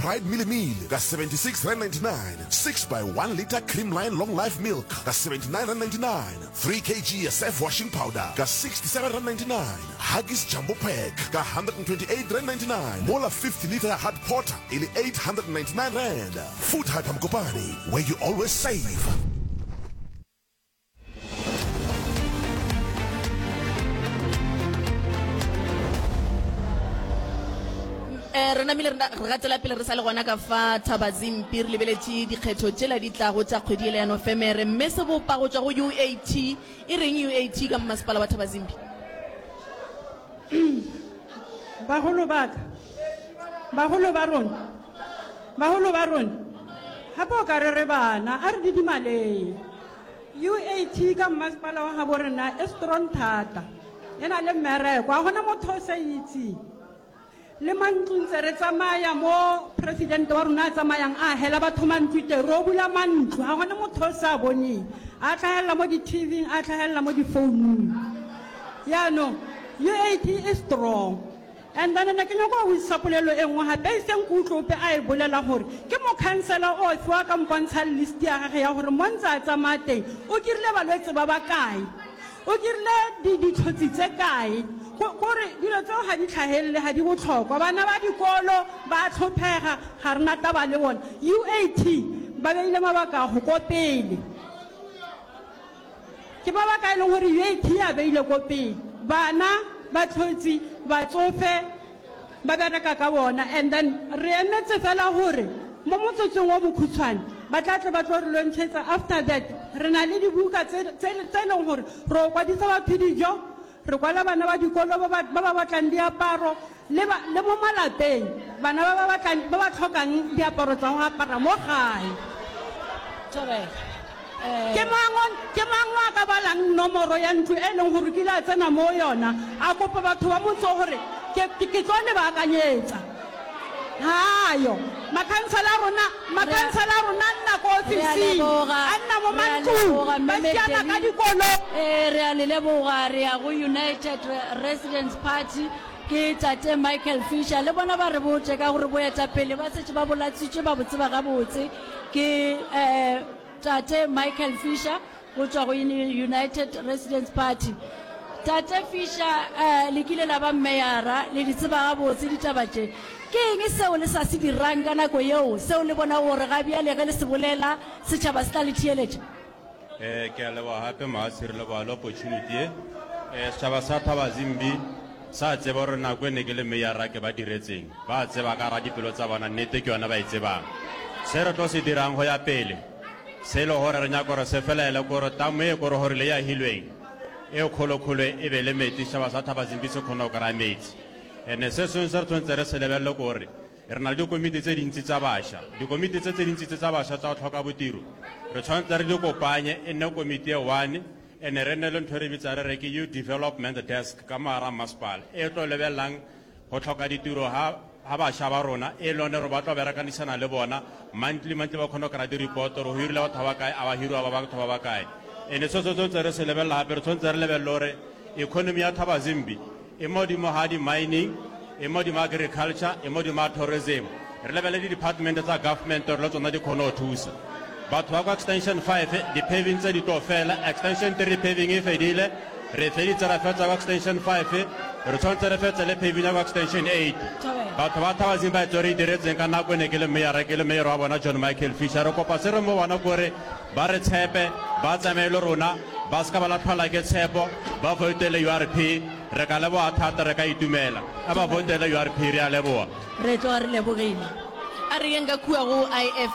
Pride Mealie Meal ka R76.99, 6 by 1 litre Creamline Long Life Milk ka R79.99, 3 kg ya Surf Washing Powder ka R67.99, Huggies Jumbo Pack ka R128.99, mola 50 litre ya Hard Porter e le R899. Food Hyper Mokopane, where you always save. Eh, re namile re gatela pele re sa le gona ka fa Thabazimpi re lebeletše dikgetho tšela di tlago tša kgwedi ele ya Nofemere mme sebopa go tšwa go UAT e reng UAT ka mmasepala wa Thabazimbi? Bagolo ba ka, bagolo ba rona, bagolo ba rona, gape o ka re re bana, a re didimaleng. UAT ka mmasepala wa gabo rena e strong thata, e na le mmereko, ga gona motho o sa itseng. Le mantlo ntse re tsamaya mo president wa rona a tsamayang a hela batho mantlo teng, ro bula mantlo, ga gona motho o sa boneng, a tlhagelela mo di-TV-ing, a tlhagelela mo di-founung. Jaanong UAT e strong. And then ne ke nyaka go botšiša polelo e nngwe gape e seng ke utlwe ope a e bolela gore ke mokhansela ofe wa ka mpontshang list ya gage ya gore mo ntse a tsamaya teng o kirile balwetse ba ba kae, o kirile ditlhotsi tse kae. Gore dilo tseo ga di tlhagelele, ga di botlhokwa. Bana ba dikolo ba a tlhophega, ga re na taba le bona. UAT ba beile mabaka go ko pele. Ke ba ba ka e leng gore UAT a beile ko pele. Bana, batlhotsi, batsofe ba bereka ka bona and then re emetse fela gore mo motsotsong o mokhutshwane ba tla tle ba tlo re lontšhetsa. After that re na le dibuka tse e leng gore ro kwadisa batho dijo, Re kwala bana ba dikolo ba ba, ba ba batlang diaparo, le ba, le mo malapeng, bana ba ba batlang, ba ba tlhokang diaparo tsa go apara mo gae. Thobela. Eh. Ke mang, ke mang o a ka balang nomoro ya ntlo e leng gore o kile a tsena mo yona, a kopa batho ba motse gore, Ke, ke, ke tlo le baakanyetsa? Hayo. Makhansela a rona, makhansela a rona a nna ko Re a ofising, leboga, a nna mo re a mantlong, leboga, ba Mme šiana ka Debbie. dikoloi. Ee, re a le leboga. Re ya go United Residents Party, ke Tate Michael Fisher. Le bona ba re botše ka gore boetapele ba šetše ba bo latswitše, ba bo tseba gabotse. Ke um Tate Michael Fisher. Go tšwa go United Residents Party. Tate Fisher, le kile la ba mmeyara, le di tseba gabotse ditaba tše. Ke eng seo le sa se dirang ka nako yeo, seo le bonago gore ga bjale ge le se bolela, setšhaba se tla le theeletša? Ke a leboga gape Moatshi, re leboga le opportunity ye. Setšhaba sa Thabazimbi sa tseba gore nako e ne ke le meyara ke ba diretseng. Ba a tseba ka gara dipelo tsa bona, nnete ke yona ba e tsebang. Se re tlo se dirang go ya pele, Se e le gore re nyaka gore se felele kore tamo e kore gore le yahilweng e kgolokgolo e be le metsi, setšhaba sa Thabazimbi se kgone go kry-a metsi. And-e se sengwe se re tshwanetse re se lebelele kore re na le dikomiti tse dintsi tsa bašwa. Dikomiti tse tse dintsi tse tsa bašwa tsa go tlhoka botiro re tshwanetse re di kopanye e nne komiti e one, and-e re nne le ntho e re bitsang re re ke youth development desk ka mo gare ga masepala e tlo lebelelang Go hloka ditiro ga, ga bašwa ba rona, e lone gore ba tlo berekanisana le bona monthly, monthly ba kgone go kry-a di-report gore go hirile batho ba ba kae, a ba hiriwa ba batho ba ba kae. And-e se se tshwanetse re se lebelela gape, re tshwanetse re lebelele gore economy ya Thabazimbi e mo godimo ga di-mining, e mo godimo ga agriculture, e mo godimo ga tourism. Re lebelele di-department tsa government gore le tsona di kgone go thusa. Batho ba kwa extension 5, di-paving tse di tlo fela, extension 3 paving e fedile, re feditse ra fetsa kwa extension 5, re tshwanetse re fetse le paving ya kwa extension 8. Batho ba Thabazimbi ba itse re e diretseng ka nako e ne ke le meyara, ke le mayor wa bona John Michael Fisher. Re kopa se re mo bona kore ba re tshepe, ba tsamaye le rona, ba seka ba latlhelwa ke tshepo, ba voutele URP, re ka leboga thata, re ka itumela. A ba voutele URP, re a leboga. Re tloga re lebogile. A re yeng ka kua go IFP.